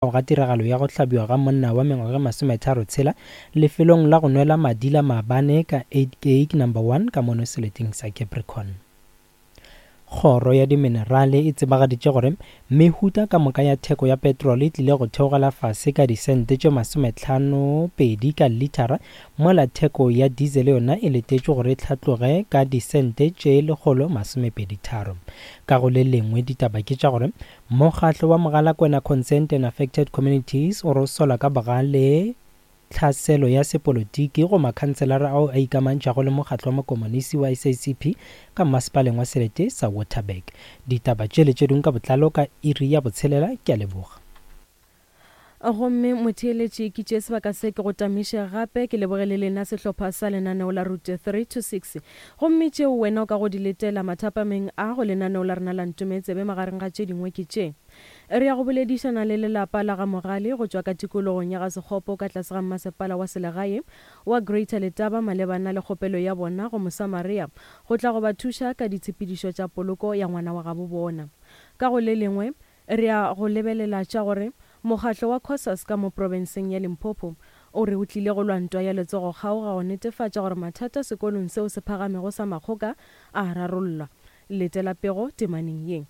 Ga tiragalo ya go hlabiwa ga monna wa mengwaga e masometharotshela lefelong la go nwela madila maabane ka Uitkyk Number One ka mono seleteng sa Capricorn. Kgoro ya Diminerale e tsebagaditše gore mehuta ka moka ya theko ya petrole e tlile go theogela fase ka disente tše masometlhano-pedi ka lithara mola theko ya diesel yona e letetšwe gore e hlatloge ka disente tše 123. Ka go le lengwe ditaba ke tša gore Mokgatlo wa Mogalakwena Concerned and Affected Communities o re o sola ka bogale tlhaselo ya sepolotiki go makhanselara ao a ikamantšhago le mokgatlo wa makomonisi wa SACP ka mmasepaleng wa selete sa Waterberg. Ditaba tše le tše dingwe ka botlalo ka iri ya botshelela. Ke a leboga. Gomme motheeletši, ke tšee sebaka se ke go tamiše gape ke leboge le lena sehlopha sa lenaneo la Route 3 to 6. Gomme tšeo wena o ka go di letela mathapameng a go lenaneo la rena la Ntometsebe magareng ga tše dingwe ke tše. Re ya go boledišana le lelapa la ga Mogale go tšwa ka tikologong ya ga Sekgopo ka tlase ga mmasepala wa selegae wa Greater Letaba malebana le kgopelo ya bona go Mosamaria go tla go ba thuša ka ditshepedišo tša poloko ya ngwana wa gabo bona. Ka go le lengwe, Re ya go lebelela tša gore mokgatlo wa Cosas ka mo profenseng ya Limpopo o re o tlile go lwa ntwa ya letsogo-kgaoga go netefatša gore mathata sekolong seo se phagamego sa Makgoka a a rarollwa. Letela pego temaneng ye.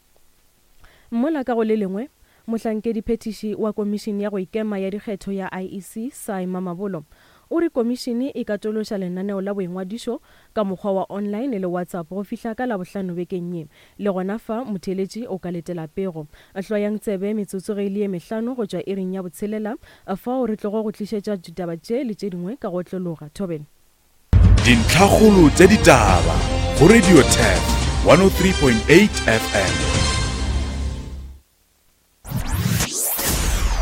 Mola ka go le lengwe, mohlankedi-phethiši wa Komišene ya go Ikema ya Dikgetho ya IEC, Sy Mamabolo, O re komišene e katološa lenaneo la boingwadišo ka mokgwa wa online le WhatsApp go fihla ka Labohlano bekeng ye. Le gona fa, motheeletši o ka letela pego. Hlwayang tsebe metsotso ge e le ye mehlano go tšwa iring ya botshelela, fao re tlogo go tlišetša ditaba tše le tše dingwe ka go otlologa. Thobela. Dintlhakgolo tša ditaba go Radio Turf 103.8 FM.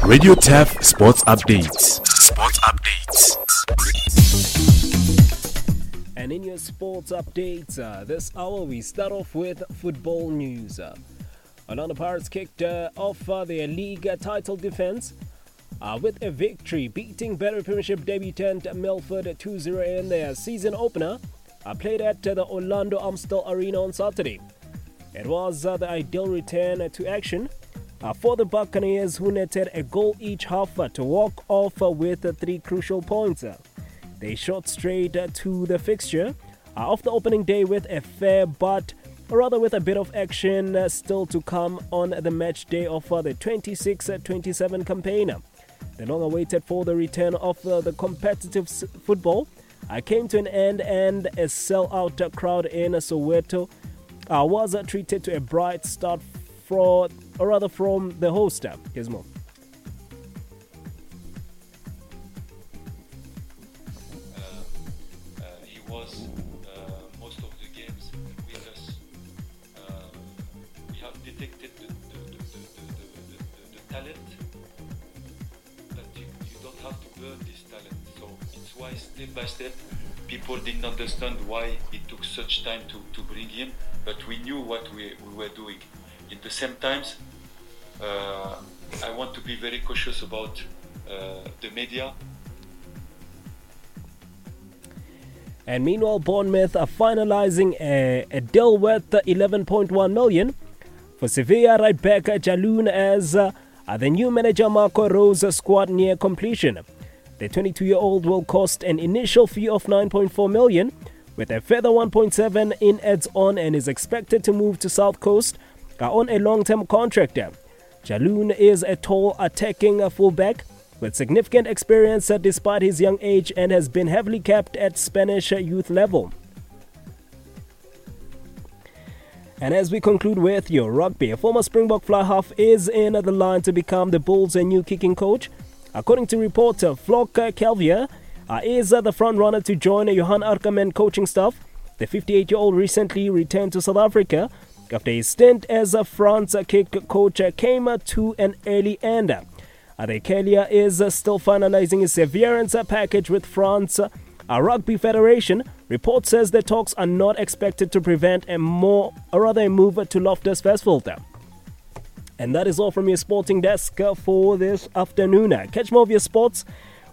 Radio Turf Sports Updates. Sports Updates. And in your sports updates, uh, this hour we start off with football news. Uh, Orlando Pirates kicked uh, off uh, their league title defense uh, with a victory, beating Better Premiership debutant Milford 2-0 in their season opener, uh, played at the Orlando Amstel Arena on Saturday. It was uh, the ideal return to action uh, for the Buccaneers, who netted a goal each half uh, to walk off uh, with uh, three crucial points. They shot straight to the fixture of the opening day with a fair but rather with a bit of action still to come on the match day of the 26 27 campaign. The long awaited for the return of the competitive football came to an end and a sellout crowd in Soweto uh, was treated to a bright start for, or rather from the host, Gizmo. Uh, uh, he was uh, most of the games with us. we have detected the, the, the, the, the talent, but you, you don't have to burn this talent. So it's why step by step people didn't understand why it took such time to, to bring him, but we knew what we, we were doing. In the same times, uh, I want to be very cautious about uh, the media. And meanwhile, Bournemouth are finalizing a, a deal worth 11.1 million for Sevilla right back Jaloun as uh, the new manager Marco Rose squad near completion. The 22-year-old will cost an initial fee of 9.4 million, with a further 1.7 in adds-on and is expected to move to South Coast on a long-term contract. Jaloun is a tall, attacking fullback with significant experience despite his young age and has been heavily capped at Spanish youth level. And as we conclude with your rugby, former Springbok fly half is in the line to become the Bulls' new kicking coach. According to reporter Flock Calvier, uh, is the front runner to join Johan Ackermann coaching staff. The 58 year old recently returned to South Africa after his stint as a France kick coach came to an early end. Adekelia is still finalizing his severance package with France. A rugby federation report says the talks are not expected to prevent a more, or rather a move to Loftus Versfeld. And that is all from your sporting desk for this afternoon. Catch more of your sports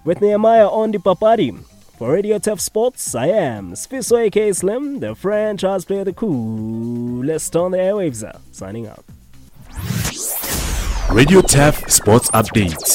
with Nehemiah on the Papadi. For Radio Turf Sports, I am Sfiso aka Slim, the franchise player, the coolest on the airwaves. Signing out. Radio Turf Sports Updates.